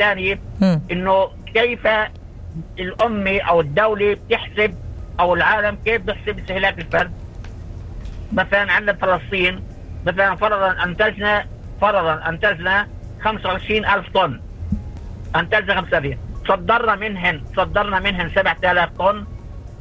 الثاني انه كيف الأمة او الدولة بتحسب او العالم كيف بيحسب استهلاك الفرد. مثلا عندنا فلسطين مثلا فرضا انتجنا 25,000 طن، انتجنا 5 صدرنا منهن 7,000 طن،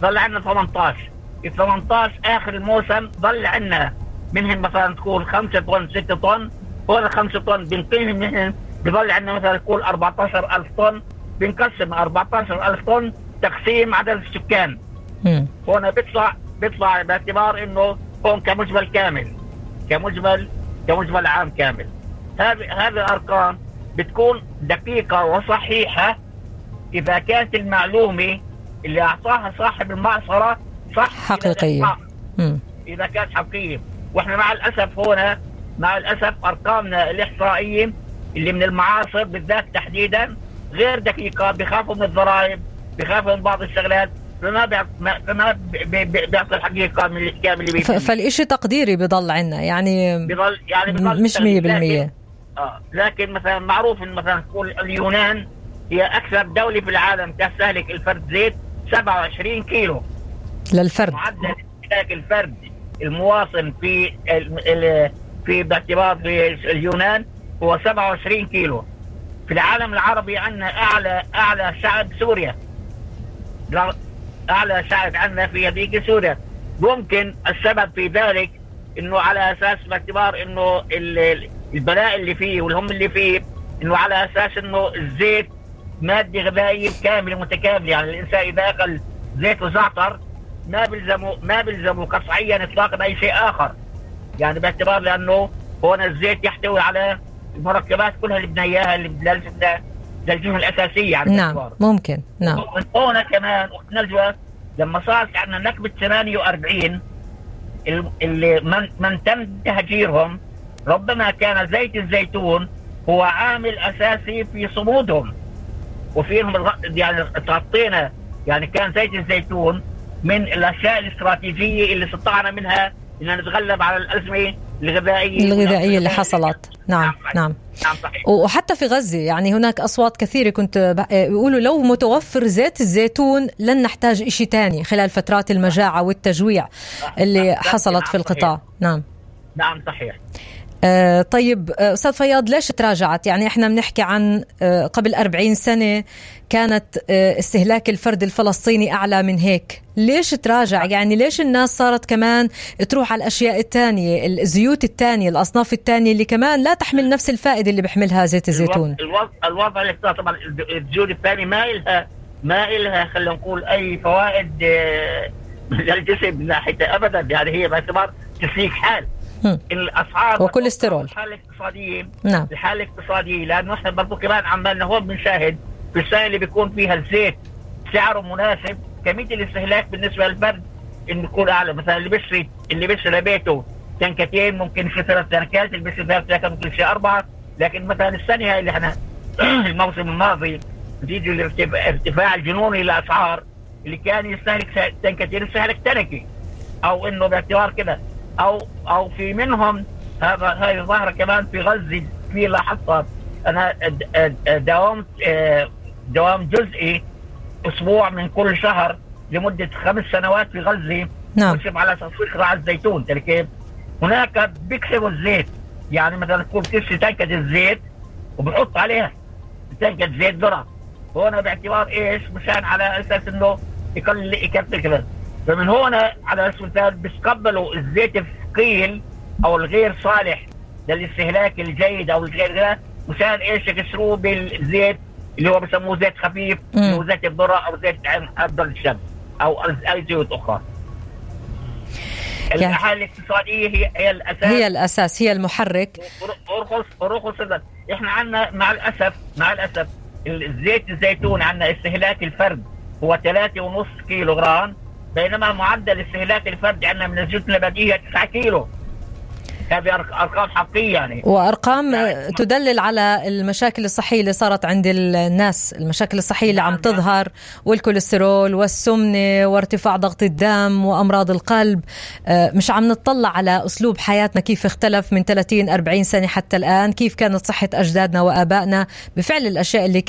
ظل عندنا 18. ال 18 اخر الموسم ظل عندنا منهن مثلا تكون 5 طن 6 طن، هون 5 طن بنقيهم منهن بظل عندنا مثلا تكون 14,000 طن، بنقسم 14,000 طن تقسيم عدد السكان. هون بيطلع باعتبار انه هون كمجمل عام كامل. هذه الارقام بتكون دقيقة وصحيحة اذا كانت المعلومة اللي اعطاها صاحب المعصرة صح حقيقية. اذا كانت حقيقية. واحنا مع الاسف ارقامنا الاحصائية اللي من المعاصر بالذات تحديدا غير دقيقة، بيخافوا من الضرائب، بيخافوا من بعض الشغلات، فما بيعطي الحقيقة من الكامل اللي بيجي. فالإشي تقديري بيضل عنا يعني مش 100%. لكن مثلا معروف ان مثلا اليونان هي اكثر دولة في العالم تستهلك الفرد زيت 27 كيلو للفرد. معدل استهلاك الفرد المواطن في باعتبار في اليونان هو 27 كيلو. في العالم العربي عندنا اعلى شعب سوريا، اعلى شعب عندنا في هذيك سوريا. ممكن السبب في ذلك انه على اساس باعتبار انه البلاء اللي فيه والهم اللي فيه، انه على اساس انه الزيت مادة غذائية كاملة متكاملة. يعني الانسان اذا اكل زيت وزعتر ما بيلزمه قطعيا اطلاقا اي شيء اخر، يعني باعتبار لانه هون الزيت يحتوي على المركبات كلها اللي بدنا اياها اللي للجهة الاساسية. يعني نعم ممكن. نعم هون كمان وقت نلجوة لما صارت عندنا نكبة 48 اللي من تم تهجيرهم، ربما كان زيت الزيتون هو عامل اساسي في صمودهم وفيهم يعني تغطينا. يعني كان زيت الزيتون من الاشياء الاستراتيجية اللي استطعنا منها ان نتغلب على الازمة الغذائية اللي حصلت. نعم صحيح. وحتى في غزة يعني هناك أصوات كثيرة كنت بيقولوا لو متوفر زيت الزيتون لن نحتاج إشي تاني خلال فترات المجاعة والتجويع اللي حصلت في القطاع. نعم صحيح. طيب أستاذ فياض، ليش تراجعت؟ يعني احنا بنحكي عن قبل 40 سنة كانت استهلاك الفرد الفلسطيني أعلى من هيك، ليش تراجع؟ يعني ليش الناس صارت كمان تروح على الأشياء التانية، الزيوت التانية، الأصناف التانية اللي كمان لا تحمل نفس الفائدة اللي بيحملها زيت الزيتون؟ الوضع اللي طبعا الزيوت الثانية ما إلها خلينا نقول أي فوائد للجسم من ناحية أبدا. يعني هي باعتبار تسليك حال الاسعار وكوليسترول. الحاله الاقتصاديه لانه احنا برضو كمان عمالنا هون بنشاهد في السنه اللي بيكون فيها الزيت سعره مناسب كميه الاستهلاك بالنسبه للفرد انه يكون اعلى. مثلا اللي بيشتري لبيته تنكتين ممكن في 3 تنكات، اللي بيشتري 3 ممكن في 4. لكن مثلا السنه هاي اللي احنا الموسم الماضي نتيجه الارتفاع الجنوني للاسعار اللي كان يستهلك تنكتين يستهلك تنكي، او انه باعتبار كده او في منهم هاي ظاهرة كمان في غزة في لاحظتها. انا دوام جزئي اسبوع من كل شهر لمدة 5 سنوات في غزة. بشرب على تسويق راعي الزيتون كيف هناك بيكسبوا الزيت. يعني مثلا تكون تشتري تنكة الزيت وبحط عليها تنكة زيت ذرة، هنا باعتبار ايش؟ مشان على اساس انه يكفي كذا. فمن هنا على اساس المثال بيتقبلوا الزيت الثقيل او الغير صالح للاستهلاك الجيد او الغير مشان ايش؟ يكسروه بالزيت اللي هو بسموه زيت خفيف، اللي هو زيت الذرة او زيت افضل الشمس او اي زيوت اخرى. الحالة الاقتصادية هي الاساس، هي المحرك. ورخص احنا عندنا مع الاسف الزيت الزيتون عندنا استهلاك الفرد هو 3.5 كيلو غرام، بينما معدل استهلاك الفرد عندنا من الزيوت النباتية 9 كيلو. هذه أرقام حقيقية يعني، وأرقام تدلل على المشاكل الصحية اللي صارت عند الناس، المشاكل الصحية اللي عم تظهر، والكوليسترول والسمنة وارتفاع ضغط الدم وأمراض القلب. مش عم نطلع على أسلوب حياتنا كيف اختلف من 30-40 سنة حتى الآن، كيف كانت صحة أجدادنا وآبائنا بفعل الأشياء اللي